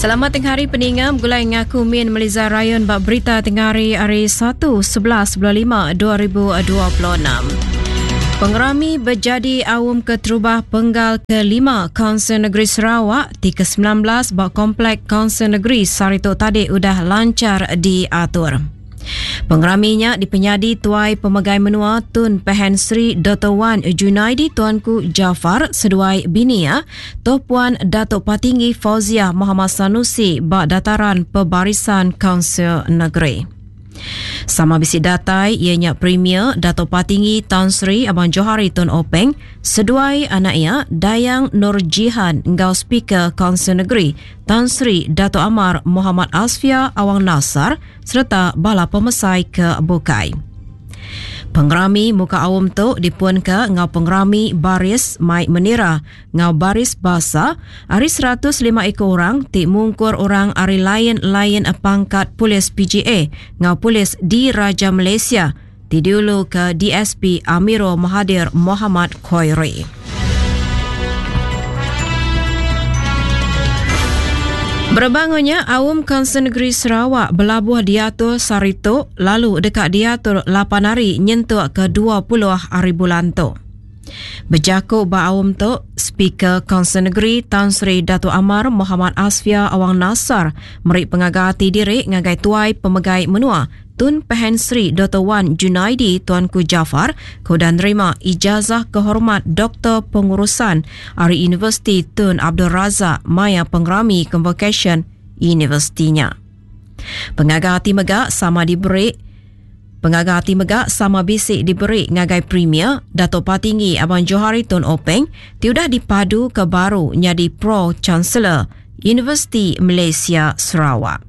Selamat tengah hari peninga begulai ngaku Min Meliza Rayon ba berita tengah hari hari 1 11 bulan 5 2026. Pengerami bejadi aum keterubah penggal kelima Kaunsil Negeri Sarawak ti ke-19 ba Komplek Kaunsil Negeri sehari tu tadi udah lanchar diatur. Pengerami nya dipenyadi Tuai Pemegai Menua Tun Pehin Sri Doktor Wan Junaidi Tuanku Jaafar seduai bini iya, Toh Puan Datuk Patinggi Fauziah Mohamad Sanusi ba Dataran Pebarisan Kaunsil Negeri. Sama bisi datai iya nya Premier Datuk Patinggi Tan Sri Abang Johari Tun Openg seduai anak iya Dayang Nur Jihan enggau Speaker Kaunsil Negeri Tan Sri Datuk Amar Mohamad Asfia Awang Nassar sereta bala pemesai ke bukai. Pengerami muka aum tu dipunka enggau pengerami baris mai menira enggau baris basa ari 105 iku orang ti mungkur orang ari lain-lain pangkat polis PGA enggau polis Diraja Malaysia ti diuluka DSP Amirul Mahathir Mohamad Khoiri. Berebak enggau nya, Aum Kaunsil Negeri Sarawak belabuh diatur sehari tu lalu deka diatur lapan hari nyentuk ke 20 hari bulan tu. Bejaku ba aum tu, Speaker Kaunsil Negeri Tan Sri Datuk Amar Mohamad Asfia Awang Nassar meri pengaga ati diri ngagai Tuai Pemegai Menua Tun Pehin Sri Doktor Wan Junaidi Tuanku Jaafar ke udah nerima Ijazah Kehormat Doktor Pengurusan ari Universiti Tun Abdul Razak maya pengerami konvokesyen universiti nya. Pengaga ati mega sama diberi Pengaga ati mega sama bisi diberi ngagai Premier Datuk Patinggi Abang Johari Tun Openg ti udah dipaduka baru nyadi Pro Chancellor Universiti Malaysia Sarawak.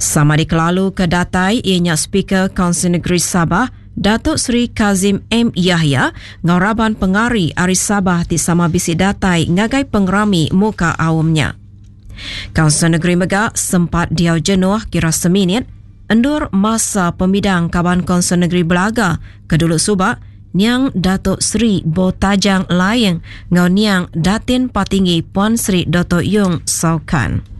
Sama dikelalu ke datai iya nya Speaker Kaunsil Negeri Sabah, Datuk Seri Kazim M Yahya enggau raban pengari ari Sabah ti sama bisi datai ngagai pengerami muka aum nya. Kaunsil Negeri mega sempat diau jenuh kira seminit endur masa pemidang kaban Kaunsil Negeri Belaga ke dulu suba niang Datuk Seri Bo Tajang Laing enggau niang Datin Patinggi Puan Sri Doktor Yong Sau Kan.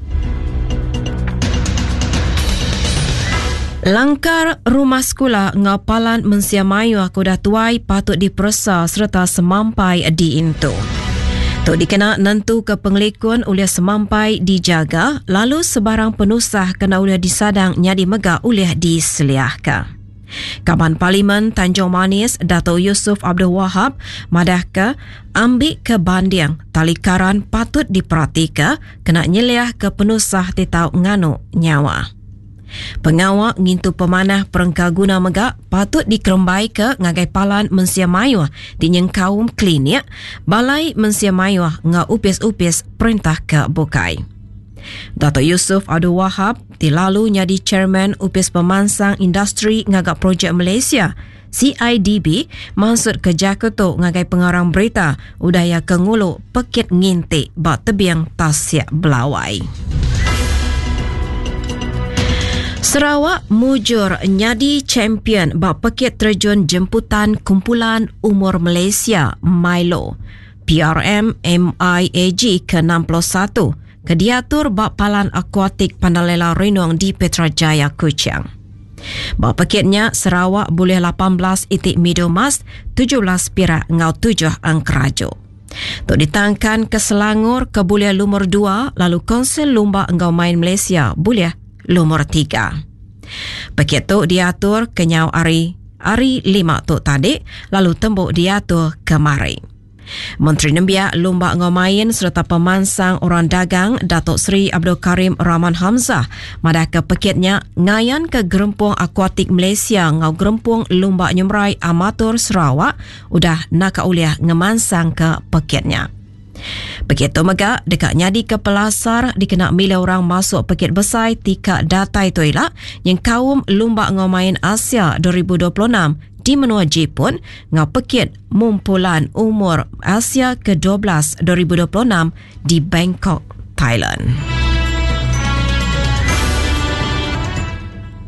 Langkar rumah sekula enggau palan mensia mayuh ke udah tuai patut diperesa sereta semampai diintu. Tu dikena nentuka pengelikun ulih semampai dijaga lalu sebarang penusah kena ulih disadang nyadi mega ulih diseliahka. Kaban Parlimen Tanjung Manis Dato Yusuf Abdul Wahab madahka ambi ke banding tali karan patut diperatika kena nyeliahka penusah ti tau nganu nyawa. Pengawa ngintu pemanah perengka guna mega patut dikerembaika ngagai palan mensia mayuh ti nyengkaum klinik, balai mensia mayuh enggau opis-opis perintah ke bukai. Dato Yusuf Abdul Wahab ti lalu nyadi Chairman Opis Pemansang Industri Ngaga Projek Malaysia, CIDB, mansutka jaku tu ngagai pengarang berita udah iya ke ngulu pekit nginti ba tebing Tasik Belawai. Sarawak mujur nyadi champion ba pekit terjun jemputan Kumpulan Umur Malaysia, Milo, PRM MIAG ke-61 ke diatur ba Palan Akuatik Pandalela Renong di Petra Jaya, Kuching. Ba pekit nya, Sarawak bulih 18 iti midul emas, 17 pirak enggau tujuh engkeraju. Tu ditangkan ke Selangor ke bulih lumur dua lalu Kaunsil Lumba enggau Main Malaysia bulih lumur tiga. Pekit tu diatur kenyau ari hari Lima tu tadi lalu tembu diatur kemari. Menteri Nembiak, Lumba enggau Main sereta Pemansang Orang Dagang Datuk Seri Abdul Karim Rahman Hamzah madahka pekit nya ngayanka Gerempung Akuatik Malaysia enggau Gerempung Lumba Nyemerai Amatur Sarawak udah naka ulih ngemansangka pekit nya. Pekit tu mega deka nyadika pelasar dikena milih orang masuk pekit besai ti ka datai tu ila nyengkaum Lumba enggau Main Asia 2026 di menua Jipun enggau pekit Mumpulan Umur Asia ke-12 2026 di Bangkok, Thailand.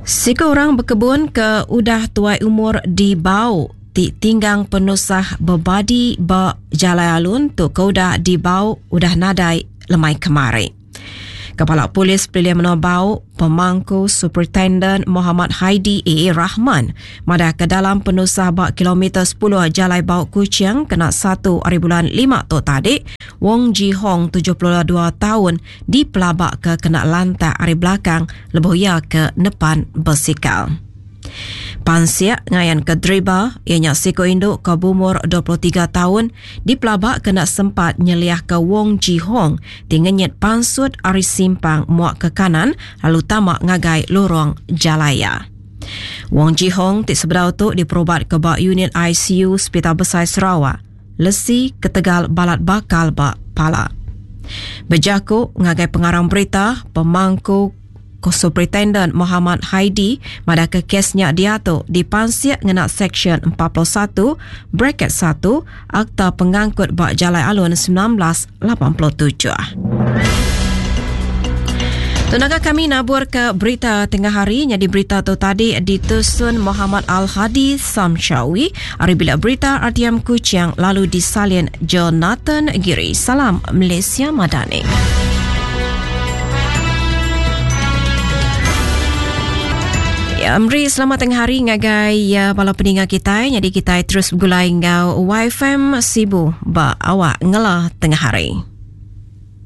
Siku orang bekebun ke udah tuai umur di Bau ti tinggang penusah bebadi ba jalai alun tu ke udah di Bau udah nadai lemai kemari. Kepala Polis Pelilih Menua Bau, Pemangku Superintenden Mohamad Haidi AA Rahman madahka dalam penusah ba kilometer sepuluh Jalai Bau Kuching kena satu ari bulan lima tu tadi, Wong Ji Hong, 72 taun, dipelabaka kena lantak ari belakang lebuh iya ke nepan besikal. Pansik ngayanka deriba iya nya siku indu ke beumur 23 taun dipelaba kena sempat nyeliahka Wong Ji Hong ti ngenyit pansut ari simpang muak ke kanan lalu tama ngagai lorong jalai iya. Wong Ji Hong ti sebedau tu diperubatka ba unit ICU Sepital Besai Sarawak lesi ketegal balat bakal ba pala. Bejaku ngagai pengarang berita, pemangku Superintenden Mohamad Haidi madahka kes nya diatu dipansik ngena Seksyen 41 braket satu Akta Pengangkut ba Jalai Alun 1987. Tenaga kami nabur ke berita tengah hari nyadi berita tu tadi ditusun Muhammad Al-Hadi Samshawi ari bilik berita RTM Kuching lalu disalin Jonathan Giri. Salam Malaysia Madani. Ya, meri selamat tengah hari ngagai ya, bala peninga kitai. Jadi kitai terus begulai enggau YFM Sibu ba awak ngela tengah hari.